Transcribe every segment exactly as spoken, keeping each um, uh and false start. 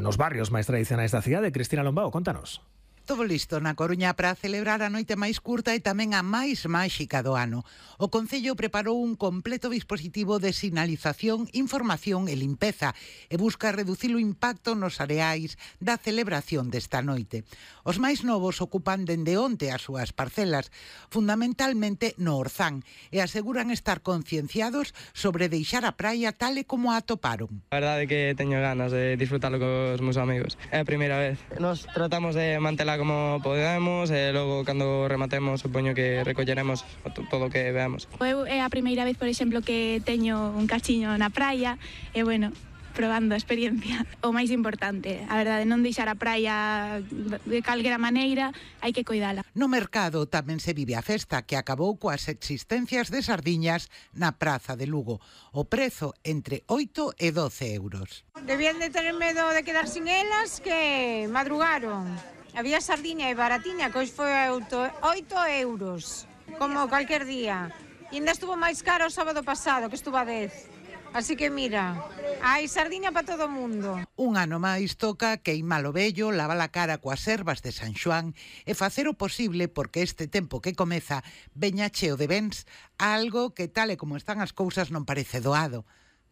nos barrios máis tradicionais da cidade. Cristina Lombao, contanos. Todo listo na Coruña para celebrar a noite máis curta e tamén a máis máxica do ano. O Concello preparou un completo dispositivo de sinalización, información e limpeza e busca reducir o impacto nos areais da celebración desta noite. Os máis novos ocupan dende onte as súas parcelas, fundamentalmente no Orzán, e aseguran estar concienciados sobre deixar a praia tal e como a atoparon. A verdade é que teño ganas de disfrutarlo cos meus amigos. É a primeira vez. Nos tratamos de mantelar como podemos e logo cando rematemos supoño que recolleremos todo o que veamos. Eu é a primeira vez, por exemplo, que teño un cachiño na praia e bueno, probando a experiencia. O máis importante, a verdade, non deixar a praia de calquera maneira, hai que cuidala. No mercado tamén se vive a festa, que acabou coas existencias de sardiñas na Praza de Lugo. O prezo entre oito e doce euros. Debían de tener medo de quedar sin elas, que madrugaron. Había sardiña e baratiña, que hoxe foi oito euros, como cualquier día. E ainda estuvo máis caro o sábado pasado, que estuvo a dez. Así que mira, hai sardiña para todo o mundo. Un ano máis toca queimar o vello, lavar a cara coas ervas de San Xoán e facer o posible porque este tempo que comeza veña cheo de bens, algo que tal e como están as cousas non parece doado.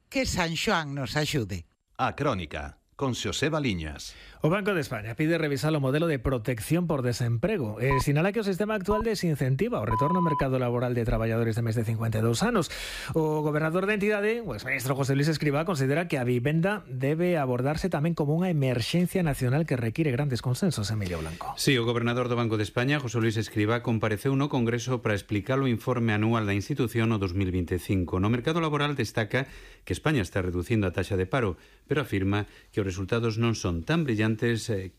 Que San Xoán nos axude. A Crónica, con Xosé Baliñas. O Banco de España pide revisar o modelo de protección por desemprego e sinala que o sistema actual desincentiva o retorno ao mercado laboral de traballadores de máis de cincuenta e dous anos. O gobernador da entidade, o exministro José Luis Escrivá, considera que a vivenda debe abordarse tamén como unha emerxencia nacional que require grandes consensos. Emilio Blanco. Sí, o gobernador do Banco de España, José Luis Escrivá, compareceu no Congreso para explicar o informe anual da institución no dos mil vinte e cinco. No mercado laboral destaca que España está reducindo a taxa de paro, pero afirma que os resultados non son tan brillantes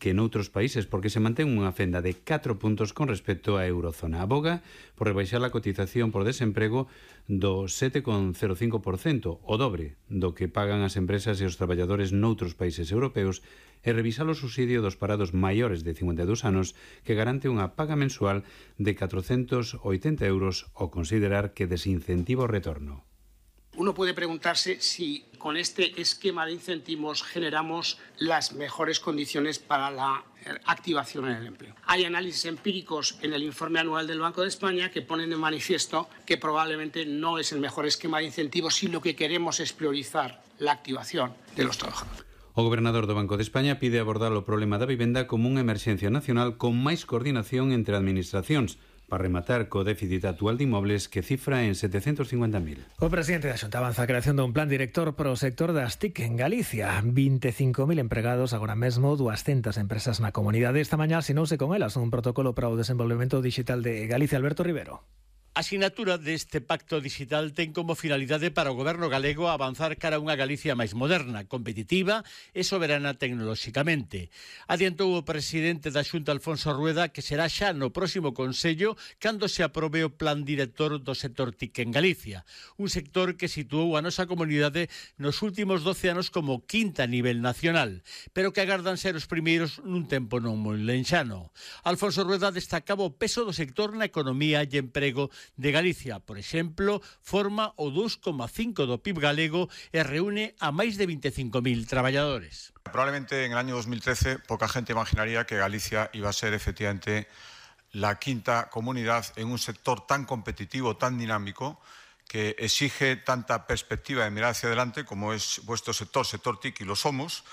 que noutros países porque se mantén unha fenda de catro puntos con respecto á eurozona. Aboga por rebaixar a cotización por desemprego do sete coma cero cinco por cento, o dobre do que pagan as empresas e os traballadores noutros países europeos, e revisar o subsidio dos parados maiores de cincuenta e dous anos que garante unha paga mensual de catrocentos oitenta euros ao considerar que desincentiva o retorno. Uno puede preguntarse si con este esquema de incentivos generamos las mejores condiciones para la activación en el empleo. Hay análisis empíricos en el informe anual del Banco de España que ponen de manifiesto que probablemente no es el mejor esquema de incentivos si lo que queremos es priorizar la activación de los trabajadores. O gobernador do Banco de España pide abordar o problema da vivenda como unha emerxencia nacional con máis coordinación entre administracións, para rematar co déficit actual de inmobles que cifra en setecentos cincuenta mil. O presidente da Xunta avanza a creación dun plan director para o sector das T I C en Galicia. vinte e cinco mil empregados agora mesmo, duascentas empresas na comunidade. Esta mañá asinouse con elas un protocolo para o desenvolvemento digital de Galicia. Alberto Rivero. A sinatura deste pacto digital ten como finalidade para o goberno galego avanzar cara a unha Galicia máis moderna, competitiva e soberana tecnoloxicamente. Adiantou o presidente da Xunta, Alfonso Rueda, que será xa no próximo Consello cando se aprobe o plan director do sector T I C en Galicia. Un sector que situou a nosa comunidade nos últimos doce anos como quinta a nivel nacional, pero que agardan ser os primeiros nun tempo non moi lenxano. Alfonso Rueda destacaba o peso do sector na economía e emprego de Galicia. Por exemplo, forma o dous coma cinco do P I B galego e reúne a máis de vinte e cinco mil traballadores. Probablemente en el año dos mil trece poca gente imaginaría que Galicia iba a ser efectivamente la quinta comunidad en un sector tan competitivo, tan dinámico, que exige tanta perspectiva de mirar hacia adelante como es vuestro sector, sector T I C, y lo somos.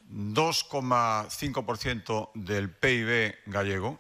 dos coma cinco por ciento del P I B gallego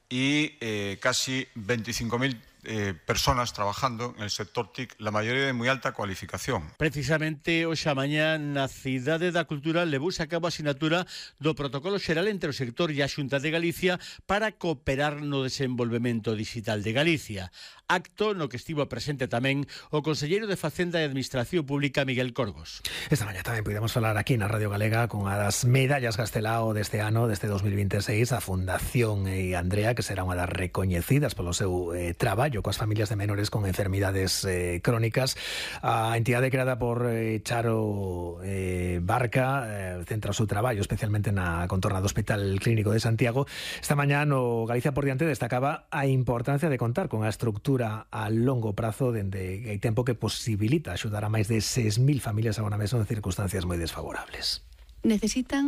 y eh, casi veinticinco mil Eh, personas trabajando en el sector T I C, la maioría de moi alta cualificación. Precisamente hoxe a mañá na Cidade da Cultura levouse a cabo a sinatura do protocolo xeral entre o sector e a Xunta de Galicia para cooperar no desenvolvemento digital de Galicia. Acto no que estivo presente tamén o conselleiro de Facenda e Administración Pública, Miguel Corgos. Esta mañá tamén podemos falar aquí na Radio Galega con a das medallas Castelao deste ano, deste dos mil vinte e seis, a Fundación e Andrea, que será unha das recoñecidas polo seu eh, traballo coas familias de menores con enfermidades eh, crónicas. A entidade creada por eh, Charo eh, Barca eh, centra o seu traballo especialmente na contorna do Hospital Clínico de Santiago. Esta mañá no Galicia por diante destacaba a importancia de contar con a estructura a longo prazo dende hai tempo que posibilita axudar a máis de seis mil familias agora mesmo en circunstancias moi desfavorables. Necesitan